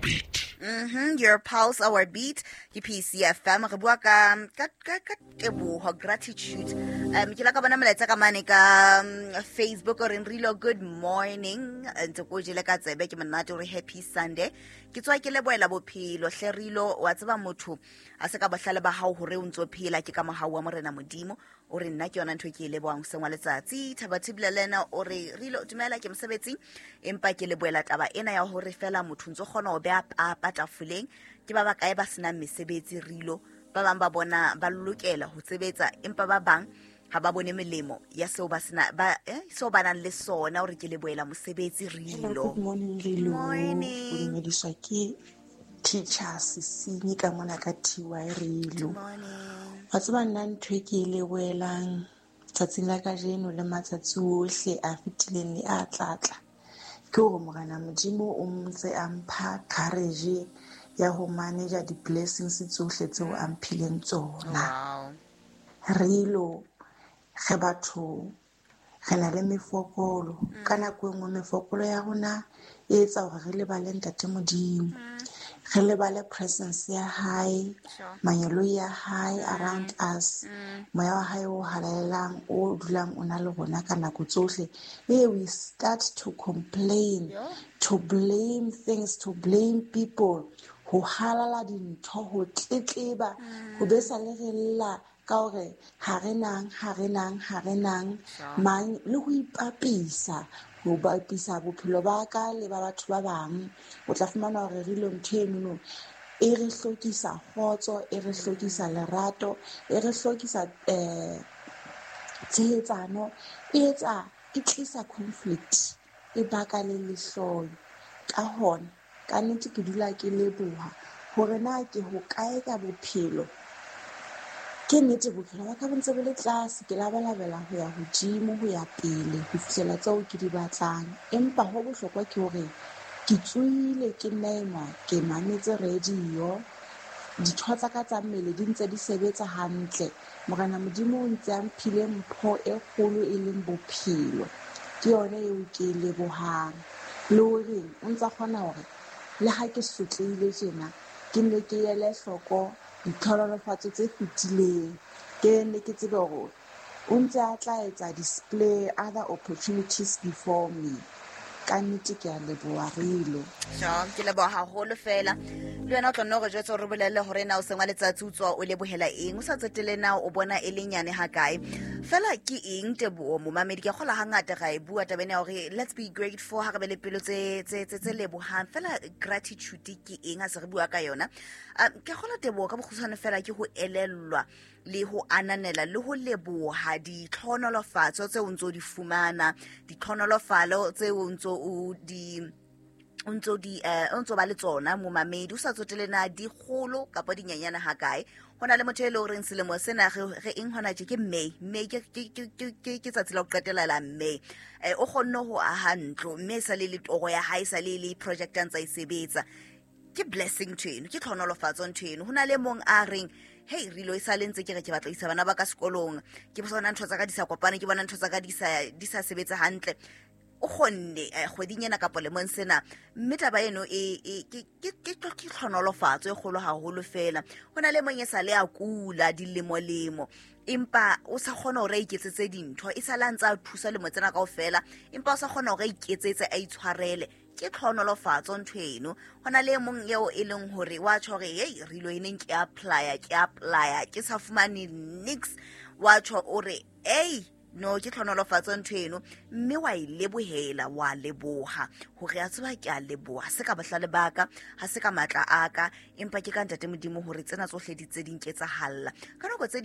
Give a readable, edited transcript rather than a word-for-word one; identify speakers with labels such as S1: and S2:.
S1: beat.
S2: Your pulse, our beat. Ke PCFM. Re bua ka teboho, gratitude. Ke la ka bona molaetsa ka mane ka Facebook o reng, "Rilo, good morning." Ntse ko jele ka tsebe, ke monate o re happy Sunday. Ke tswa ke lebohela bophelo hle, Rilo. Wa tseba motho a se ka bohlale ba hao hore o ntso phela, ke ka mohau wa Morena Modimo. O re nna ke yona ntho e ke e lebohang hoseng wa letsatsi. Thabathibile le ena o re, "Rilo, dumela, ke mosebetsing, empa ke lebohela taba ena ya hore fela motho ntso kgona ho beha papa tafoleng. Ke ba bakae ba senang mesebetsi, Rilo? Ba bang ba bona ba lokela ho sebetsa, empa ba bang ha ba bone melemo ya seo ba sena ba seo ba nang le sona." O re ke lebohela mosebetsi,
S3: Hello,
S2: Rilo.
S3: good morning, Rilo.
S2: Morning.
S3: O dumediswa ke Teacher Sesinyi ka mona ka TY, Rilo.
S2: Morning.
S3: Wa tseba, nna ntho e ke e lebohelang tsatsing la kajeno le matsatsi ohle a fetileng le a tlatla ke hore Morena Modimo o ntse a mpha courage ya ho manage di-blessings tsohle tseo a mphileng tsona. Rilo, re batho, re na le mefokolo. Ka nako e nngwe mefokolo ya rona e etsa hore re lebale Ntate Modimo, re lebale presence ya hae, mangeloi ya hae around us, moya wa hae o halalelang o dulang o na le rona ka nako tsohle. Ebe we start to complain, to blame things, to blame people, ho halala dintho, ho tletleba, ho besa le re lla ka hore ha re nang, ha re nang, ha re nang mang, le ho ipapisa, ho bapisa bophelo ba ka le ba batho ba bang. O tla fumana hore re ile ntho enono e re hlokisa kgotso, e re hlokisa lerato, e re hlokisa tshehetsano, e etsa, e tlisa conflict, e baka le lehloyo. Ka hona ka nnete ke dula ke leboha hore na ke hokae ka bophelo. Ke nnete bophelo ba ka bo ntse bo le tlase, ke labalabela ho ya hodimo, ho ya pele, ho fihlela tseo ke di batlang. Empa ho bohlokwa ke hore ke tsohile, ke nna ke mametse radio, ditho tsa ka tsa mmele di ntse di sebetsa hantle. Morena Modimo o ntse a mphile mpho e kgolo e leng bophelo. Ke yona eo ke e lebohang. Le hore o ntsa kgona hore le ha ke sotlehile tjena, ke nne ke ele hloko ditlhohonolofatso tse fetileng, ke nne ke tsebe hore o ntse a tla etsa display other opportunities before me. Ka nnete ke a leboha, Rilo.
S2: Sure, ke leboha haholo fela. Le wena o tla nna hore jwetse hore bolelle hore na o seng wa letsatsi o tswa o lebohela eng, o sa tsotelle na o bona e le nyane ha kae. Fela ke eng teboho, momamedi? Ke kgola hangata ra e bua taba ena ya hore let's be grateful, ha re be le pelo tse lebohang. Fela gratitude ke eng ha se re bua ka yona? Ke kgola teboho ka bokgutshwane fela ke ho elellwa le ho ananela le ho leboha ditlhohonolofatso tseo o ntso di fumana, ditlhohonolofalo tseo o ntso o di o ntso di o ntso ba le tsona, momamedi, o sa tsotele na di kgolo kapa di nyenyane ha kae. Ho na le motho e leng horeng selemo sena re eng hona tje, ke May. May ke tsatsi la ho qetela la May. O kgonne ho aha ntlo, mme e sa le le toro ya hae, e sa le le project a ntsa e sebetsa. Ke blessing ntho eno, ke tlhohonolofatso ntho eno. Ho na le mong a reng, "Hey Rilo, e sa le ntse ke re ke batla ho isa bana ba ka sekolong, ke bona ntho tsa ka di sa kopane, ke bona ntho tsa ka di sa sebetse hantle." O kgonne kgweding ena kapa lemong sena, mme taba eno ke tlhonolofatso e kgolo haholo fela. Ho na le mong e sa le a kula dilemo-lemo, empa o sa kgona hore a iketsetse dintho, e sa le a ntse a thusa lemo tsena kaofela, empa o sa kgona hore a iketsetse, a itshwarele. Ke tlhonolofatso ntho eno. Ho na le e mong eo e leng hore wa tjho hore, "Hei Rilo, e neng ke apply-a, ke apply-a, ke sa fumane nix." Wa tjho o re, "Ei no, ke tlhonolofatso ntho eno," mme wa e lebohela, wa leboha hore a tseba, ke a leboha, ha se ka bohlale ba ka, ha se ka matla a ka, empa ke ka Ntate Modimo hore tsena tsohle di tse di nketsahalla ka nako tse.